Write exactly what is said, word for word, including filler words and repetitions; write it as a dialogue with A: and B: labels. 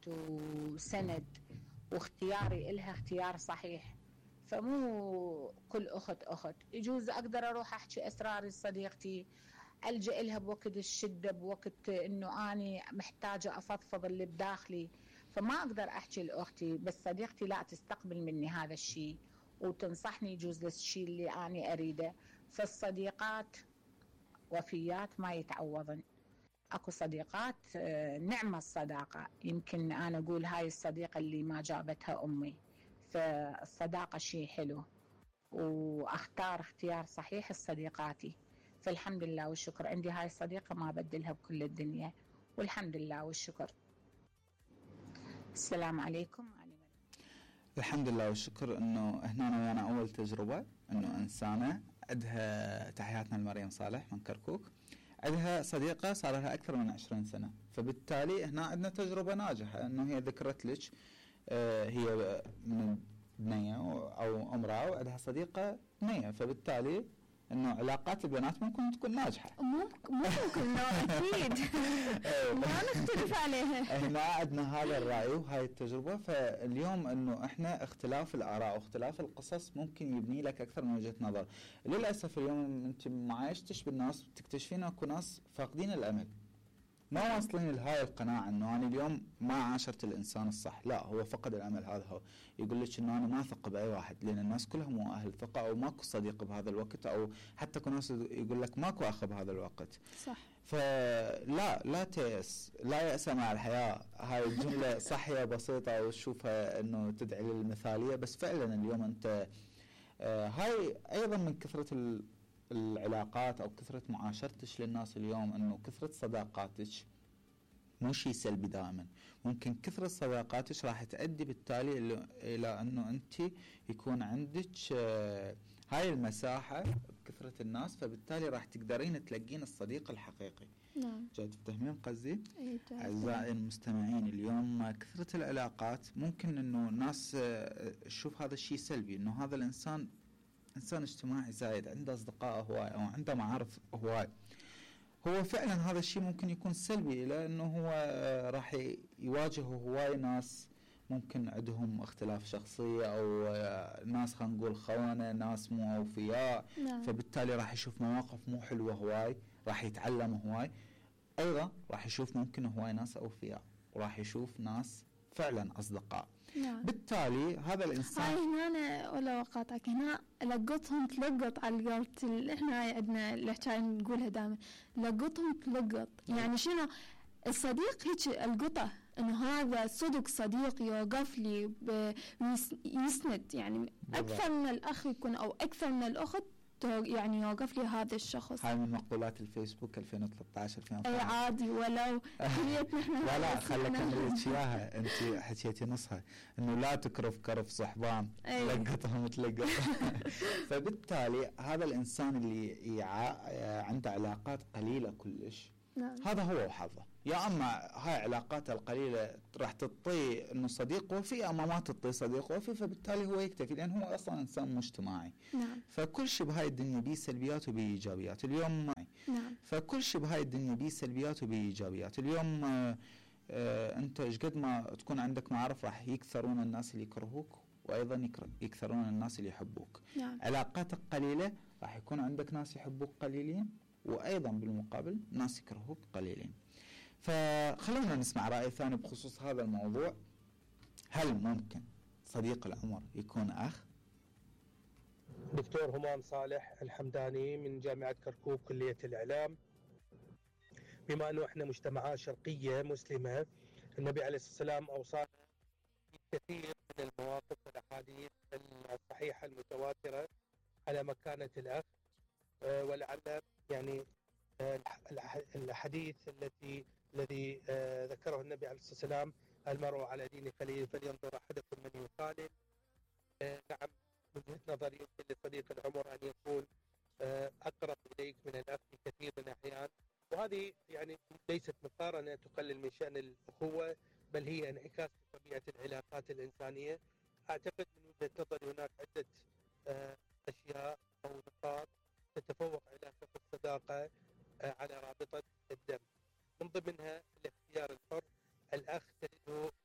A: وسند واختياري إلها اختيار صحيح. فمو كل أخت أخت، يجوز أقدر أروح أحكي أسراري لصديقتي، ألجأ لها بوقت الشدة، بوقت إنه أني محتاجة أفضفض اللي بداخلي، فما أقدر أحكي لأختي، بس صديقتي لا تستقبل مني هذا الشيء وتنصحني يجوز للشيء اللي أنا أريده. فالصديقات وفيات ما يتعوضن. أكو صديقات نعمة الصداقة، يمكن أنا أقول هاي الصديقة اللي ما جابتها أمي. فالصداقة شيء حلو، وأختار اختيار صحيح لصديقاتي. فالحمد لله والشكر عندي هاي الصديقة ما بدلها بكل الدنيا، والحمد لله والشكر. السلام عليكم.
B: الحمد لله والشكر انه هنا ويانا اول تجربة انه انسانة عندها، تحياتنا لمريم صالح من كركوك، عندها صديقة صار لها اكثر من عشرين سنة، فبالتالي هنا عندنا تجربة ناجحة انه هي ذكرت لك آه هي من بنية او امرأة وعندها صديقة بنية، فبالتالي انه علاقات البنات ممكن تكون ناجحة.
C: ممكن ممكن لا اكيد ما نختلف عليها.
B: هنا عندنا هذا الرأي وهاي التجربة. فاليوم انه احنا اختلاف الاراء واختلاف القصص ممكن يبني لك اكثر من وجهة نظر. للاسف اليوم انت ما عايشتش بالناس تكتشفين اكو ناس فاقدين الامل، ما واصلين لهاي القناعة انه انا اليوم ما عاشرت الانسان الصح، لا هو فقد الامل. هذا هو يقول لك انه انا ما اثق باي واحد لان الناس كلهم مو اهل ثقة، او ماكو صديق بهذا الوقت، او حتى كل ناس يقول لك ماكو اخ بهذا الوقت.
C: صح.
B: فلا لا تيأس، لا يأس مع الحياة. هاي الجملة صحية بسيطة وتشوفها انه تدعي للمثالية، بس فعلا اليوم انت آه هاي ايضا من كثرة العلاقات او كثرة معاشرتش للناس اليوم، انه كثرة صداقاتك مو شيء سلبي دائما. ممكن كثرة صداقاتك راح تؤدي بالتالي الى انه انت يكون عندك آه هاي المساحة بكثرة الناس، فبالتالي راح تقدرين تلقين الصديق الحقيقي.
C: نعم.
B: جاي تفتهمين قصدي؟
C: اي.
B: اعزائي المستمعين، اليوم كثرة العلاقات ممكن انه الناس آه تشوف هذا الشيء سلبي، انه هذا الانسان انسان اجتماعي زايد، عنده اصدقاء هواي او عنده معارف هواي. هو فعلا هذا الشيء ممكن يكون سلبي، لانه هو راح يواجه هواي ناس ممكن عندهم اختلاف شخصية، او ناس خلينا نقول خونة، ناس مو اوفياء.
C: نعم.
B: فبالتالي راح يشوف مواقف مو حلوة هواي، راح يتعلم هواي. ايضا راح يشوف ممكن هواي ناس اوفياء، وراح يشوف ناس فعلا اصدقاء.
C: نعم.
B: بالتالي هذا الانسان
C: هاي هنا أنا ولا وقعتك هنا لقطهم تلقط على القلط. احنا هاي عندنا الحكاية نقولها دائما، لقطهم تلقط. يعني شنو الصديق؟ هيك القطة انه هذا صدق صديق يوقف لي ويسند، يعني اكثر من الاخ يكون او اكثر من الاخت يعني يوقف لي هذا الشخص.
B: هاي من مقولات الفيسبوك ألفين وثلاثة عشر ألفين
C: اي عادي ولو
B: لا لا خليك نريد اياها، انت حكيتي نصها انه لا تكرف كرف صحبان لقطهم تلقط. فبالتالي هذا الانسان اللي يع... عنده علاقات قليلة كلش،
C: نعم.
B: هذا هو وحظه. يا اما هاي علاقاته القليله راح تعطيه انه صديق وفي، اما ما تعطيه صديق وفي، فبالتالي هو يكتفي لان هو اصلا انسان مجتمعي.
C: نعم.
B: فكل شيء بهاي الدنيا بيه سلبيات وبيه ايجابيات. اليوم معي.
C: نعم.
B: فكل شيء بهاي الدنيا بيه سلبيات وبيه ايجابيات. اليوم آه آه انت ايش قد ما تكون عندك معارف راح يكثرون الناس اللي يكرهوك، وايضا يكثرون الناس اللي يحبوك.
C: نعم.
B: علاقاتك قليله راح يكون عندك ناس يحبوك قليلين، وايضا بالمقابل ناس يكرهوك قليلين. فخلونا نسمع رأي ثاني بخصوص هذا الموضوع. هل ممكن صديق العمر يكون أخ؟
D: دكتور همام صالح الحمداني من جامعة كركوك كلية الإعلام. بما أنه إحنا مجتمعات شرقية مسلمة، النبي عليه الصلاة والسلام أوصانا كثير من المواقف والأحاديث الصحيحة المتواترة على مكانة الأخ، ولعل يعني الحديث التي الذي ذكره النبي عليه الصلاة والسلام: المرء على دين خليله فلينظر أحدكم من يخالل. نعم، من وجهة نظري يمكن لصديق العمر أن يكون أقرب إليك من الأخ في كثير من الأحيان، وهذه يعني ليست مقارنة تقلل من شأن الأخوة، بل هي انعكاس لطبيعة العلاقات الإنسانية. أعتقد من وجهة نظري هناك عدة أشياء أو نقاط تتفوق علاقة الصداقة على رابطة الدم، من ضمنها الاختيار الحر. الأخ تجده